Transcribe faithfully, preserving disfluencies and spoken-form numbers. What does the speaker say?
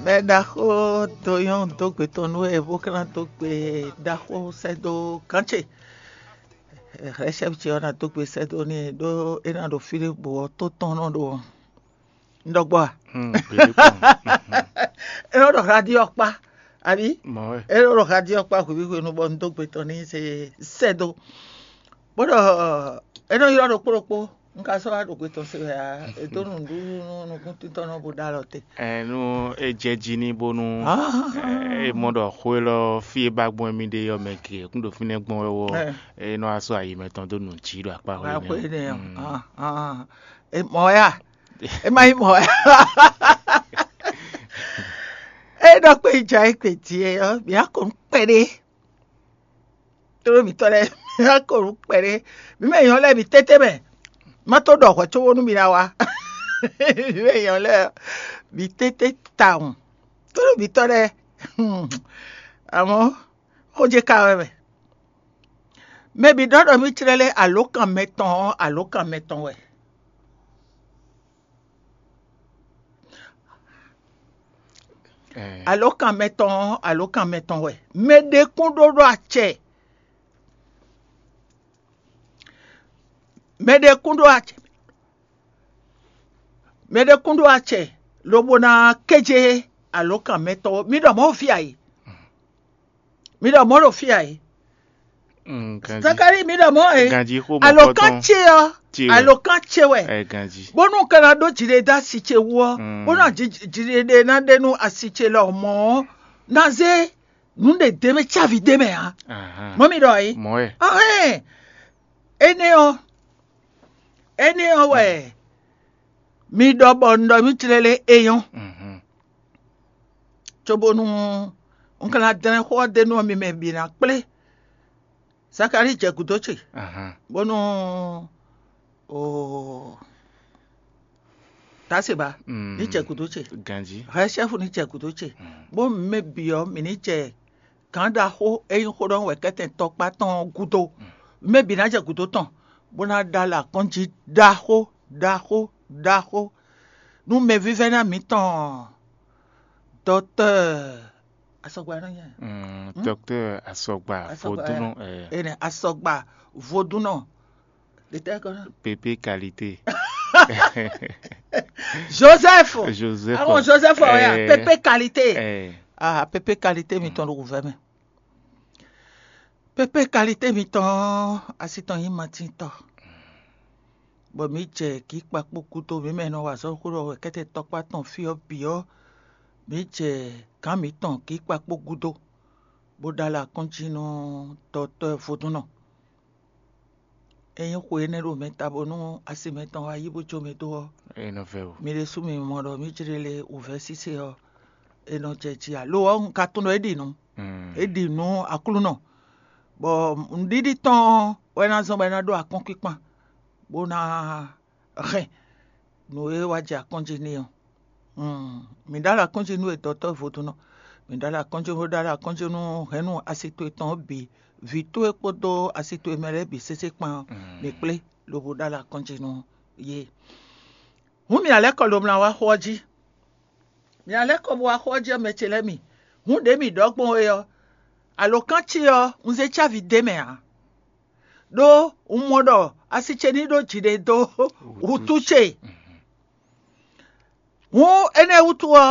Mɛ ɖaxó do nyɔ́ dó gbe tɔn nú wɛ bó ka ná dó gbe ɖaxó sɛ́ dó gǎn ce. Hɛ̌sɛ́ ce ɔ́ ná dó gbe sɛ́ dó n'i ɖó é ná ɖo fí ɖé bǔ ɔ́ tó tɔn nɔ ɖo ɔ́. Un ɖɔ gbɔ a? É nɔ ɖɔ radio ɔ́ kpá, abǐ? É nɔ ɖɔ radio ɔ́ kpá hwebǐ hwenu bɔ un dó gbe tɔn n'i se sɛ́ dó. Bó ɖɔ é nɔ ylɔ́ ɖokpó ɖokpó. Un ka sɔ́ wá ɖo gbe tɔn se wɛ ǎ. È dó nǔɖuɖu nú nukúntíntɔ́ nɔ bó ɖó alɔ te. Ɛ, nú é jɛ jí ní bónú é mɔ ɖɔ xó élɔ́ fí e ba gbɔn émí ɖe ɔ́ mɛ ke kún ɖo fínɛ́ gbɔn wɛ ɔ́, é nɔ wá sɔ́ ayi mɛtɔn dó nǔ jí ɖo akpá xwé Wá xwé nɛ́ ɔ́. Mɔ wɛ a? É má nyí mɔ wɛ. É ɖɔ kpé jɛ ayé kpé jí é ɔ́, mǐ á kɔ nú kpɛɖé. Tlóló mǐtɔn lɛ́ɛ, mǐ ná ko nǔ kpɛɖé. Mǐ mɛ nyɔ̌ lɛ́ɛ, mǐ tɛ́tɛ́ mɛ. Má tó ɖɔ hwɛ̌ cóbónú mi ná wá. Mǐ mɛ nyɔ̌ lɛ́ɛ, mǐ tɛ́tɛ́ tawun. Tlóló mǐtɔn lɛ́ɛ, amɔ̌ xó ce ka wɛ mɛ. Mɛ bǐ ɖɔ ɖɔ mì clɛ́ lé alǒkan mɛtɔn ɔ́, alǒkan mɛtɔn wɛ. Alǒkan mɛtɔn ɔ́, alǒkan mɛtɔn wɛ. Mɛ ɖé kún ɖó ɖó acɛ. Mɛ ɖé kún ɖó acɛ. Mɛ ɖé kún ɖó acɛ, lobo ná kéje alǒkan mɛtɔn ɔ́. Mi ɖɔ mɔ̌ ɖo fí a e? Mi ɖɔ mɔ̌ ɖo fí a e? Zakari, mi ɖɔ mɔ̌ e? Alǒkan ce ɔ́, alǒkan ce wɛ. Bónú un ka ná ɖó jiɖe dó asi ce wú ɔ́, bónú jiɖe ná ɖe nú asi ce lɔ mɔ̌ ɔ́, ná zé nǔ ɖě d'é mɛ cávi d'é mɛ ǎ. Mɔ̌ mi ɖɔ é? Ɔhɛn, énɛ́ ɔ́, énɛ́ ɔ́ wɛ mi ɖɔ bɔ un ɖɔ nú clɛ́lɛ́ é nyɔ́, cóbónú un ka ná dlɛ́n xó ɔ́ d'é nú mi mɛ bǐ ná kplé. Zakalíi jɛ gǔdo ce, bónú oo, Tasiba ní jɛ gǔdo ce, ganjí, hɛ̌sɛ́fu ní jɛ gǔdo ce, bó mɛ bǐ ɔ́, mǐ ní jɛ gǎn ɖaxó e nyí xó ɖɔ wɛ kɛ́tɛn tɔkpá tɔn ɔ́ gúdo. Mɛ bǐ ná jɛ gǔdo tɔn, bó ná ɖó alɔ akɔ́njí ɖaxó, ɖaxó, ɖaxó nú mɛvívɛ́ná mǐtɔn dɔktɔ́ɔ Asɔgba nɔ nyɛ. Docteur Asɔgba Vodúnɔ. Ene Asɔgba Vodúnɔ. Pépé qualité. Joseph. Joseph. Àwọn Joseph ọ̀ya, pépé qualité. Ah, pépé qualité mi tɔn ɖo wǔvɛ́ mɛ. Pépé qualité mi tɔn asi tɔn nyí matíntɔ. Bɔ mǐ jɛ kǐ kpakpó gúdo, mǐ mɛ e nɔ wa azɔ̌ xó ɖɔ wɛ kɛ́tɛ́ tɔkpá tɔn fí ɔ́ bǐ ɔ́, mǐ jɛ gǎn mǐtɔn kǐ kpakpó gúdo, bó ɖó alɔ akɔ́njí nú dɔtɔ́ vodúnnɔ. É nyí xwe énɛ́ ɖo mɛ ta bónú asi mɛtɔn wá yí bó jó mɛ dó ɔ́, mi ɖésú mi mɔ ɖɔ mǐ jlé lé wǔvɛ́ sise ɔ́, è nɔ jɛ ji ǎ. Lo ɔ́, un ka tunwun ɖɔ é ɖi nǔ. É ɖi nǔ Aklúnɔ, bɔ nǔɖiɖi tɔn ɔ́ wɛ ná zɔ́n bɔ é ná ɖó akɔ́nkpinkpan, bó ná hɛn nǔ e wá jɛ akɔ́njí n'i ɔ́. Mǐ ɖó alɔ akɔ́njí nú we dɔtɔ́ vodúnnɔ, mǐ ɖó alɔ akɔ́njí nú ɖó alɔ akɔ́njí nú hɛ̌nnu asi towe tɔn ɔ́ bǐ, vǐ towe kpódó asi towe mɛ lɛ́ɛ bǐ sésé kpán ɔ́, mǐ kplé lobo ɖó alɔ akɔ́njí nú yě. Hǔn mǐ ná lɛ́ kɔ lomlá wá xó ɔ́ jí. Mǐ ná lɛ́ kɔ bó wá xó ɔ́ jí ɔ́, mɛ ce lɛ́ɛ mi. Hǔn ɖě mǐ ɖɔ gbɔn é ɔ́, alǒkan ce ɔ́, un zé cávi d'é mɛ ǎ. Ɖó un mɔ ɖɔ asi ce ní ɖó jiɖe dó wútu ce. Hǔn énɛ́ wútu ɔ́,